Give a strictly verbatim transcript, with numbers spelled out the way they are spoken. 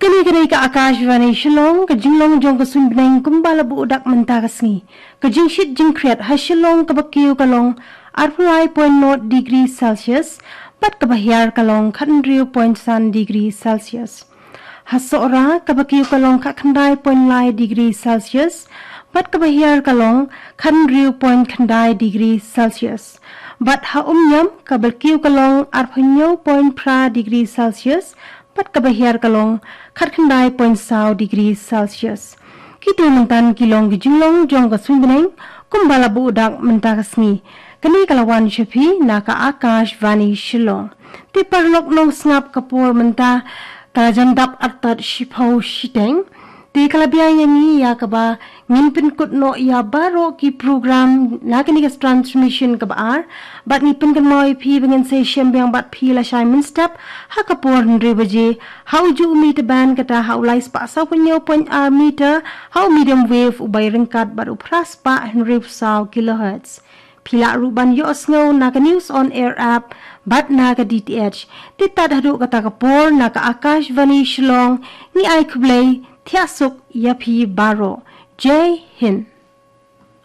Kane ka dei ka Akashvani Shillong, ka jinglong jong ka suiñ bneng kumba la buh dak mynta ka sngi. Ka jingshit jingkhriat ha Shillong kaba kiew ka long arphew lai point nought degree Celsius, bad kaba hiar ka long khathynriew point san degree Celsius. Ha Sohra kaba kiew ka long khatkhyndai point lai degree Celsius, bad kaba hiar ka long khathynriew point khyndai degree Celsius. Bad ha Umñiam kaba kiew ka long arphew hynñiew point phra degree Celsius, bad kaba hiar ka long khatkhyndai point saw degree Celsius. Kito myntan ki long ki jinglong jong ka suiñ bneng kumba la buh dak mynta ka sngi. Kane ka la wan sha phi na ka Akashvani Shillong. Te paralok nongsngap, ka por mynta ka la jan dap artat shiphew shiteng. Te ka la biang ïa ngi ïa kaba ngin pynkut noh ïa baroh ki program na kane ka transmission kaba ar. Bad ngi pynkynmaw ïa phi ba ngin sa ïashem biang bad phi lashai mynstep ha ka por hynriew baje ha ujuh u meter band, kata ha u lai spah saw phew hynñiew point ar meter ha u medium wave uba ïaryngkat bad u phra spah hynriew phew saw kilohertz. Phi lah ruh ban ïohsngew na ka News on Air app bad na ka D T H. Te tad haduh kata ka por, na ka Akashvani Shillong, ngi ai khublei, thiah suk ïa phi baroh. Jai Hind.